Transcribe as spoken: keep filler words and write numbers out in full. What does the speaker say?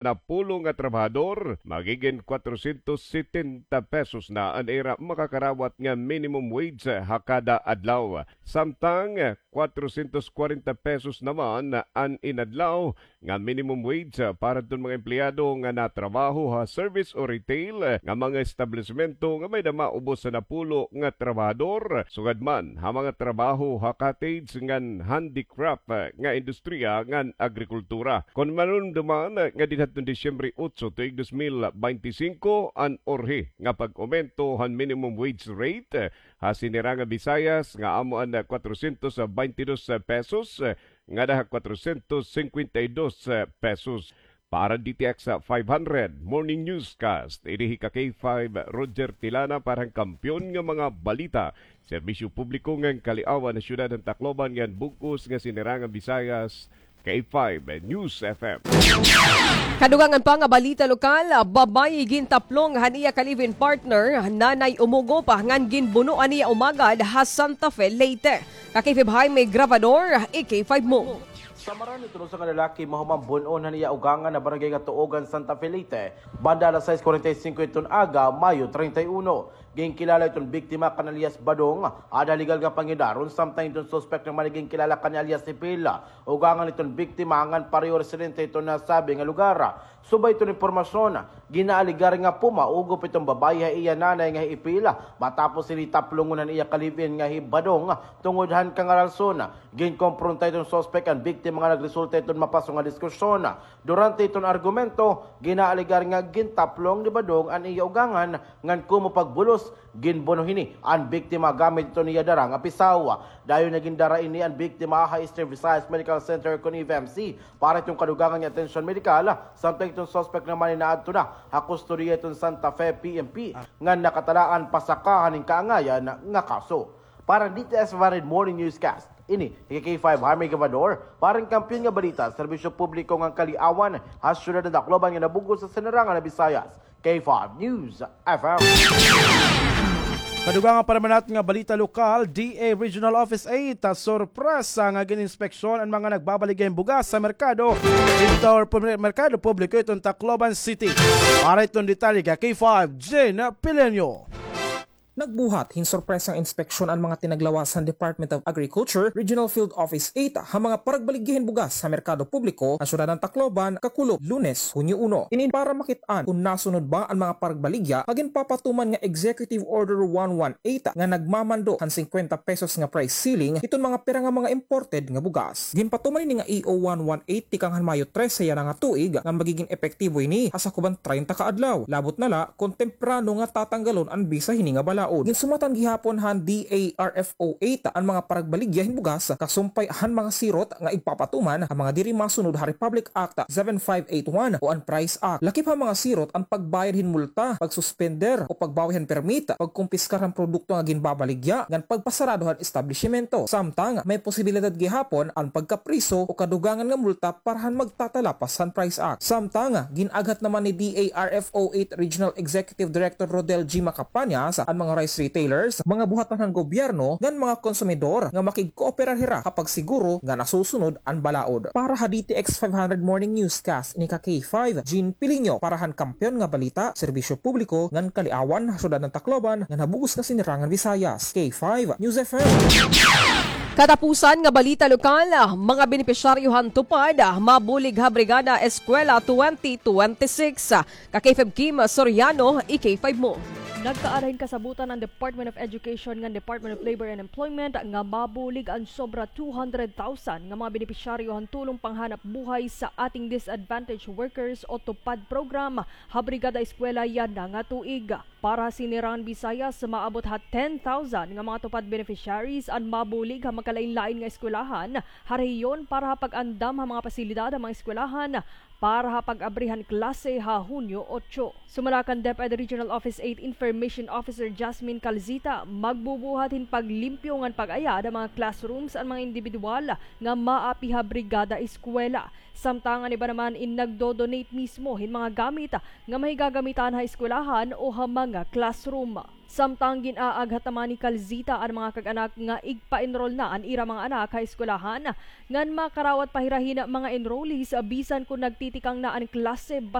napulo nga trabahador, magigin kwatrosyentos setenta pesos na an ira makakarawat nga minimum wage ha kada adlaw. Samtang kwatrosyentos kwarenta pesos naman an inadlaw nga minimum wage para adton mga empleyado nga natrabaho ha service o retail nga mga establisemento nga may-ada maubos sa napulo nga trabahador, sugad man ha mga trabaho ha cottage ngan handicraft nga industriya ngan agrikultura. Kon manunduman, ngadi hadton Disyembre otso tuig dos mil baynte singko an urhi nga pag-omento han minimum wage rate ha sini ra nga Visayas nga amo an kwatrosyentos baynte dos pesos ngada ha kwatrosyentos singkwenta y dos pesos. Para D T X five hundred Morning Newscast, ini hi ka K five Roger Tilana para han Kampiyon nga mga Balita, Serbisyo Publiko ngan Kaliawan ha Syudad han Tacloban ngan bug-os nga sini ra nga Visayas, K five News F M. Kadugangan pa nga balita lokal, babayi gintaplong han iya ka live-in partner, Nanay Umugop, ngan ginbuno an iya umagad ha Santa Fe, Leyte. Ka K five Jaime Grabador, i K five mo. Samaran iton usa nga lalaki mahuman bun-on han iya ugangan ha barangay nga Tuogan, Santa Fe, Leyte, banda alas sais kwarenta y singko iton aga, Mayo treinta y uno. Ginkilala iton biktima kan alias Badong, ada legal nga pangidaron, samtang iton suspek naman ginkilala kan alias Ipil. Ugangan iton biktima ngan pareho residente iton nasabi nga lugar. Subay iton impormasyon, ginaalegar nga pumaugop iton babaye ha iya nanay nga hi Ipil, matapos hini taplongon han iya ka live-in nga hi Badong tungod han kangaralson. Ginkompronta iton suspek an biktima nga nagresulta iton mapaso nga diskusyon. Durante iton argumento, ginaalegar nga gintaplong ni Badong an iya ugangan ngan komo pagbulos, ginbuno hini an biktima gamit iton iya dara nga pisaw. Dayon nga gindara ini an biktima ha Eastern Visayas Medical Center kon E V M C para iton kadugangan nga atensyon medikal, samtang iton suspek naman inaadto na ha kustodiya iton Santa Fe P N P ngan nakatalaan pasaka han kaangayan nga kaso. Para han D T S Vanid Morning Newscast, ini hi K five Jaime Grabador para han Kampiyon nga Balita, Serbisyo Publiko ngan Kaliawan ha Syudad han Tacloban ngan ha bug-os nga sini ra nga Visayas, K five News F M. Kadugangan pa naman naton nga balita lokal, D A Regional Office eight, ah, sorpresa nga gin-inspeksyon an mga nagbabaligya hin bugas sa merkado, didto ha pub-, merkado publiko iton Tacloban City. Para iton detalye ka K five, Jen Pileño. Nagbuhat hin sorpresang inspeksyon an mga tinaglawas han Department of Agriculture Regional Field Office eight ha mga paragbaligya hin bugas ha merkado publiko ha syudad han Tacloban, kakulop Lunes, Hunyo uno. Ini para makit-an kon nasunod ba an mga paragbaligya nga ginpapatuman nga Executive Order one one eight nga nagmamando han singkwenta pesos nga price ceiling hiton mga pira nga mga imported nga bugas. Ginpatuman ini nga E O one one eight tikang han Mayo trese yana nga tuig nga magigin epektibo ini ha sakob han treinta ka adlaw. Labot na la kon temprano nga tatanggalon an bisa hini nga balaod. Ginsumatan gihapon han D A R F O eight an mga paragbaligya hin bugas kasumpay han mga sirot nga igpapatuman ha mga diri masunod ha Republic Act seven five eight one o an Price Act. Lakip ha mga sirot an pagbayad hin multa, pagsuspender o pagbawi han permit, pagkumpiskar han produkto nga ginbabaligya, ngan pagpasarado han establisimento. Samtang may posibilidad gihapon an pagkapriso o kadugangan nga multa para han magtatalapas han Price Act. Samtang gin-aghat naman ni D A R F O eight Regional Executive Director Rodel G. Macapañas an mga rice retailers, mga buhatan han gobyerno, ngan mga konsumidor nga makigkooperar hira ha pagsiguro nga nasusunod an balaod. Para ha D T X five hundred Morning Newscast, ini ka K five, Jean Pilinho, para han Kampiyon nga Balita, Serbisyo Publiko ngan Kaliawan ha syudad han Tacloban ngan ha bug-os nga sini ra nga Visayas, K five News F M. Katapusan nga balita lokal, mga benepisyaryo han TUPAD mabulig ha Brigada Eskwela twenty twenty-six. Ka K five Kim Soriano, i K five mo. Nagkaada hin kasabotan an Department of Education ngan Department of Labor and Employment nga mabulig an sobra two hundred thousand nga mga benepisyaryo han Tulong Panghanapbuhay sa Ating Disadvantaged Workers o TUPAD program ha Brigada Eskwela yana nga tuig. Para ha sini ra nga Visayas, maabot ha ten thousand nga mga TUPAD beneficiaries an mabulig ha magkalain-lain nga eskwelahan ha rehiyon para ha pag-andam ha mga pasilidad ha mga eskwelahan para ha pag-abri han klase ha Hunyo otso. Sumala kan DepEd Regional Office eight Information Officer Jasmine Calzita, magbubuhat hin paglimpyo ngan pag-ayad ha mga classrooms an mga indibidwal nga maapi ha Brigada Eskwela. Samtang an iba naman in nagdo-donate mismo hin mga gamit nga mahigagamitan ha eskwelahan o ha mga classroom. Samtang gin-aaghat naman ni Calzita an mga kag-anak nga igpa-enroll na an ira mga anak ha eskwelahan ngan makarawat pa hira hin mga enrollees bisan kon nagtitikang na an klase